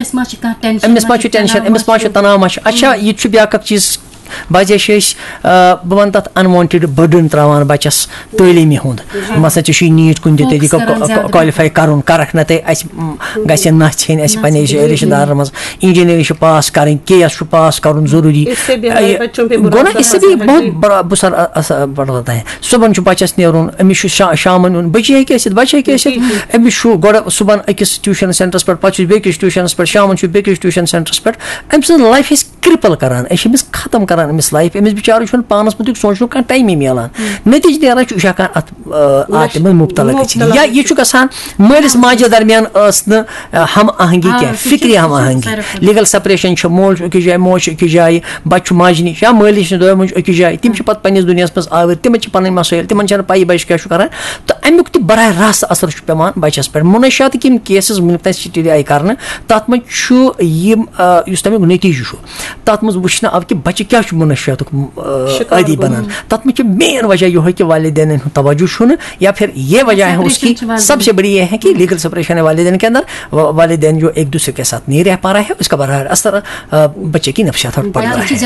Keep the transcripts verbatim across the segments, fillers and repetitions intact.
أمِس ما چھِ کانٛہہ ٹینشن، أمِس ما چھُ ٹینشن، أمِس ما چھُ تناو، ما چھُ؟ اچھا، یہِ تہِ چھُ بیٛاکھ اکھ چیٖز، بعضے چھِ أسۍ، آ، بہٕ وَنہٕ تَتھ unwanted burden ترٛاوان بَچَس تعلیٖمی ہُنٛد۔ مثلاً، ژےٚ چھُے نیٖٹ کُنہِ تہِ طریٖقہٕ کالِفاے کَرُن، کَرَکھ نہ تہٕ اَسہِ، م، گژھِ نَژھ ہیٚنۍ اَسہِ پَنٕنِس رِشتہٕ دارَس منٛز۔ اِنجینٔرِنٛگ چھِ پاس کَرٕنۍ، کے ایس چھُ پاس کَرُن ضروٗری۔ گوٚو نا، اس سے بھی بہت بڑا، بہت سارا اثر پڑتا ہے۔ صُبحن چھُ بَچَس نیرُن، أمِس چھُ شا-، شامَن یُن، بٔچی ہیٚکہِ ٲسِتھ، بَچہِ ہیٚکہِ ٲسِتھ۔ أمِس چھُ گۄڈٕ صُبحن أکِس ٹیوٗشَن سینٹرَس پٮ۪ٹھ، پَتہٕ چھُ بیٚکِس ٹیوٗشَنَس پٮ۪ٹھ، شامَن چھُ بیٚکِس ٹیوٗشَن سینٹرَس پٮ۪ٹھ۔ أمۍ سٕنٛز لایف أسۍ کرپل کران، أسۍ چھِ أمِس ختم کران، أمِس لایف، أمِس بِچارَس چھُنہٕ پانَس مُتعلِق سونٛچنُک کانٛہہ ٹایمٕے میلان۔ نٔتیٖجہٕ نیران چھُ، یہِ چھُ ہٮ۪کان اَتھ، آ، اَتھ منٛز مُبتلا گٔژھِتھ۔ یا یہِ چھُ گژھان مٲلِس ماجہِ درمیان ٲس نہٕ، آ، ہم آہنگی کینٛہہ، فکری ہم آہنگی۔ لیگل سپریشن چھُ، مول چھُ أکِس جایہِ، موج چھِ أکِس جایہِ، بَچہِ چھُ ماجہِ نِش یا مٲلِس نِش، دۄیو موج أکِس جایہِ۔ تِم چھِ پَتہٕ پنٛنِس دُنیاہَس منٛز آوٕرۍ، تِمَن چھِ پَنٕنۍ مسٲیِل، تِمَن چھَنہٕ پَیی بَچہِ کیٛاہ چھُ کران۔ تہٕ اَمیُک تہِ براہ راست اثر چھُ پٮ۪وان بَچَس پٮ۪ٹھ۔ منشیاتٕکۍ یِم کیسز وٕنیُک تام سٹڈی آیہِ کرنہٕ، تَتھ منٛز چھُ یِم، آ، یُس تَمیُک نٔتیٖجہٕ چھُ، تَتھ منٛز وٕچھنہٕ آو کہِ بَچہِ کیٛاہ چھُ منشیاتُک، آ، شِکار عٲدی گوٚمُت۔ بَنان۔ تَتھ منٛز چھِ مین وجہ یِہوٚے کہِ والدینَن ہُنٛد توجہ چھُنہٕ، یا پھر یہ وجہ ہے اس کی، سب سے بڑی یہ ہے کہ لیگل سپریشن ہے والدین کے اندر، وا-، والدین جو ایک دوسرے کے ساتھ نہیں رہ پا رہا ہے، اس کا براہ راست اثر، آ، بچے کی نفسیات پر پڑ رہا ہے۔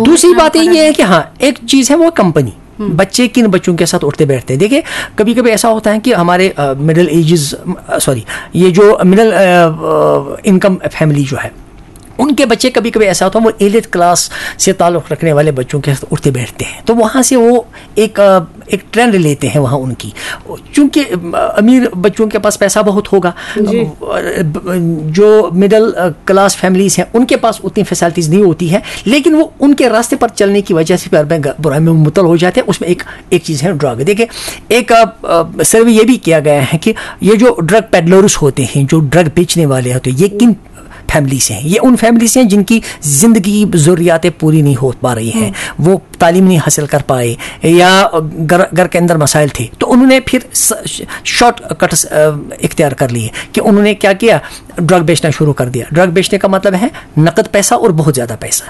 دوسری بات یہ ہے کہ ہاں، ایک چیز ہے وہ کمپنی، بچے کن بچوں کے ساتھ اٹھتے بیٹھتے ہیں۔ دیکھیں، کبھی کبھی ایسا ہوتا ہے کہ ہمارے، آ، مڈل ایجز، آ، سوری، یہ جو مڈل، آ، آ، انکم فیملی جو ہے، ان کے بچے کبھی کبھی ایسا ہوتا ہے، وہ ایلیٹ کلاس سے تعلق رکھنے والے بچوں کے ساتھ اٹھتے بیٹھتے ہیں، تو وہاں سے وہ ایک، آ، ایک ٹرینڈ لیتے ہیں وہاں ان کی، چونکہ، آ، امیر بچوں کے پاس پیسہ بہت ہوگا، آ، ب-، جو مڈل، آ، کلاس فیملیز ہیں، ان کے پاس اتنی فیسلٹیز نہیں ہوتی ہے، لیکن وہ ان کے راستے پر چلنے کی وجہ سے پھر میں گ-، برائی میں مبتلا ہو جاتے ہیں۔ اس میں ایک، ایک چیز ہے ڈرگ۔ دیکھیں، ایک، آ، آ، سروے یہ بھی کیا گیا ہے کہ یہ جو ڈرگ پیڈلرز ہوتے ہیں، جو ڈرگ بیچنے والے ہوتے ہیں، یہ کن فیملی سے ہیں؟ یہ ان فیملی سے ہیں جن کی زندگی ضروریات پوری نہیں ہو پا رہی ہیں، وہ تعلیم نہیں حاصل کر پائے یا گھر، گھر کے اندر مسائل تھے، تو انہوں نے پھر س-، شارٹ کٹس، آ، اختیار کر لیے کہ انہوں نے کیا کیا، ڈرگ بیچنا شروع کر دیا۔ ڈرگ بیچنے کا مطلب ہے نقد پیسہ اور بہت زیادہ پیسہ۔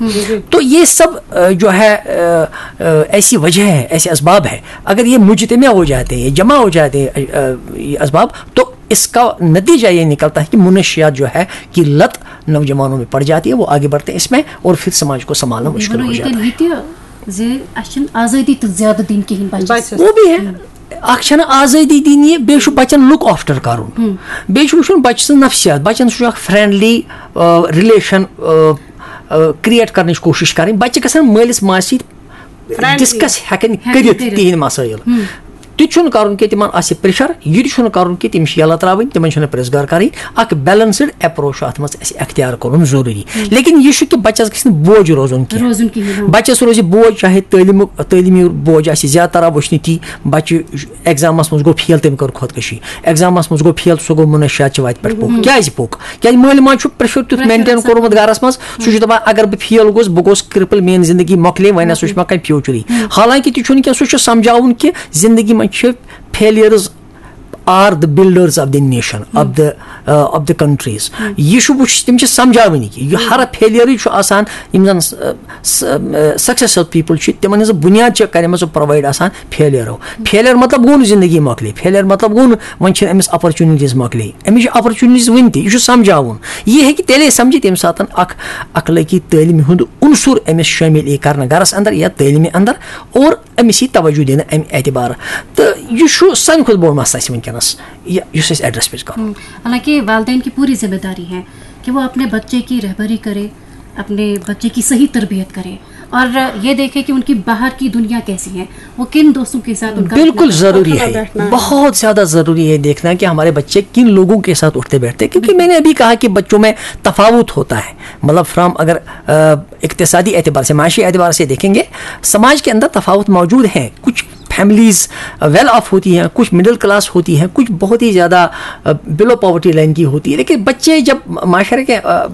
تو یہ سب، آ، جو ہے، آ، آ، ایسی وجہ ہے، ایسے اسباب ہے، اگر یہ مجتمع ہو جاتے ہیں، یہ جمع ہو جاتے ہیں، آ، آ، یہ اسباب، تو اس کا نتیجہ یہ نکلتا ہے کہ منشیات جو ہے، کہ لت نوجوانوں میں پڑ جاتی ہے، وہ آگے بڑھتے ہیں اس میں اور پھر سماج کو سنبھالنا مشکل ہو جاتا ہے۔ یہِ تہِ زِ اَسہِ چھِنہٕ آزٲدی تہِ زیادٕ دِنۍ کِہیٖنۍ بَچَس۔ وہ بھی ہے۔ اکھ چھنہٕ آزٲدی دِنۍ یہِ، بیٚیہِ چھُ بَچَن لُک آفٹر کَرُن۔ بیٚیہِ چھُ وٕچھُن بَچہٕ سٕنٛز نفسیات، بَچَن سۭتۍ چھُ اکھ فرینڈلی، آ، ریلیشن، آ، آ، کریٹ کرنٕچ کوٗشِش کَرٕنۍ۔ بَچہٕ گژھن مٲلِس ماجہِ سۭتۍ ڈسکس ہٮ۪کٕنۍ کٔرِتھ تِہِنٛدۍ مسٲیِل۔ تہِ چھُنہٕ کَرُن کہِ تِمن آسہِ پریشر، یہِ تہِ چھُنہٕ کَرُن کہِ تِم چھِ یَلہٕ ترٛاوٕنۍ، تِمن چھُنہٕ پرٛژھ گار کَرٕنۍ۔ اکھ بیلنسڈ اپروچ چھُ اَتھ منٛز اَسہِ اختیار کَرُن ضروٗری۔ لیکن یہِ چھُ کہِ بَچَس گژھِ نہٕ بوج روزُن کینٛہہ۔ روزُن کِہیٖنۍ، ہاں۔ بَچَس روزِ بوج، چاہے تعلیٖمُک، تعلیٖمی بوج آسہِ، زیادٕ تر وٕچھ نہٕ تی بَچہٕ ایگزامَس منٛز گوٚو فیل، تٔمۍ کٔر خۄدکٔشی۔ ایگزامَس منٛز گوٚو فیل، سُہ گوٚو منشیات چہِ وَتہِ پٮ۪ٹھ پوٚک۔ کیٛازِ پوٚک؟ کیٛازِ مٲلۍ ماجہِ چھُ پریشر تیُتھ مینٹین کوٚرمُت گَرَس منٛز، سُہ چھُ دَپان، اگر بہٕ فیل گوٚوُس، بہٕ گوٚوُس کرپل، میٛٲنۍ زندگی مۄکلے، وۄنۍ نہ سا چھُ مےٚ کانٛہہ فیوچرٕے۔ حالانکہ تہِ چھُنہٕ کینٛہہ، سُہ چھُ سمجھاوُن کہِ زندگی منٛز چھِ failures are the builders of the nation، of the، uh, of the countries۔ یہِ چھُ وٕچھ، تِم چھِ سمجھاوٕنۍ کہِ یہِ ہر فیلیرٕے چھُ آسان، یِم زن سکسیسفل پیپل چھِ، تِمن ہٕنٛز بُنیاد چھِ کَرِمٕژ پرووایڈ آسان فیلیرو۔ فیلیر مطلب گوٚو نہٕ زندگی مۄکلے، فیلیر مطلب گوٚو نہٕ وۄنۍ چھِنہٕ أمِس اپرچونٹیز مۄکلے، أمِس چھِ اپرچونٹیز وٕنہِ تہِ، یہِ چھُ سمجھاوُن۔ یہِ ہیٚکہِ تیٚلے سمجھِتھ ییٚمہِ ساتہٕ اکھ اخلٲقی تعلیٖمہِ ہُنٛد عنصر أمِس شٲمِل یی کرنہٕ گرس اندر یا تعلیٖمہِ اندر، اور أمِس یی توجہ دِنہٕ امہِ اعتبارٕ۔ تہٕ یہِ چھُ سانہِ کھۄتہٕ بوٚڑ مسلہٕ اَسہِ وٕنکیٚنس، یہِ، یُس اَسہِ ایڈریس پزِ کرُن۔ حالانکہ والدین کی پوری ذمہ داری ہے کہ وہ اپنے بچے کی رہبری کرے، اپنے بچے کی صحیح تربیت کرے اور یہ دیکھے کہ ان کی باہر کی دنیا کیسی ہے، وہ کن دوستوں کے ساتھ ان کا، بالکل ضروری ہے، بہت زیادہ ضروری ہے دیکھنا کہ ہمارے بچے کن لوگوں کے ساتھ اٹھتے بیٹھتے ہیں، کیونکہ میں نے ابھی کہا کہ بچوں میں تفاوت ہوتا ہے۔ مطلب فرام اگر، آ، اقتصادی اعتبار سے، معاشی اعتبار سے دیکھیں گے، سماج کے اندر تفاوت موجود ہے۔ کچھ فیملیز ویل آف ہوتی ہیں، کچھ مڈل کلاس ہوتی ہیں، کچھ بہت ہی زیادہ بلو پاورٹی لائن کی ہوتی ہے، لیکن بچے جب معاشرے کے، آ، آ،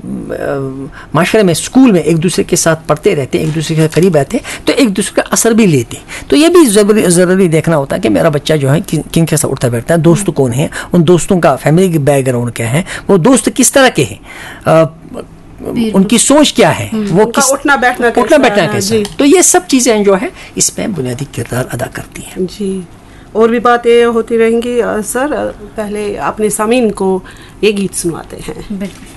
معاشرے میں، اسکول میں ایک دوسرے کے ساتھ پڑھتے رہتے ہیں، ایک دوسرے کے قریب رہتے ہیں، تو ایک دوسرے کا اثر بھی لیتے ہیں۔ تو یہ بھی ضروری، ضروری دیکھنا ہوتا ہے کہ میرا بچہ جو ہے کن، کن کے ساتھ اٹھتا بیٹھتا ہے، دوست کون ہیں، ان دوستوں کا فیملی بیک گراؤنڈ کیا ہے، وہ دوست کس طرح کے ہیں، آ، ان کی سوچ کیا ہے، وہ کس، اٹھنا بیٹھنا کیسا ہے، تو یہ سب چیزیں جو ہے اس میں بنیادی کردار ادا کرتی ہیں۔ جی، اور بھی باتیں ہوتی رہیں گی، آ، سر، آ، پہلے اپنے سامعین کو یہ گیت سنواتے ہیں۔ بالکل۔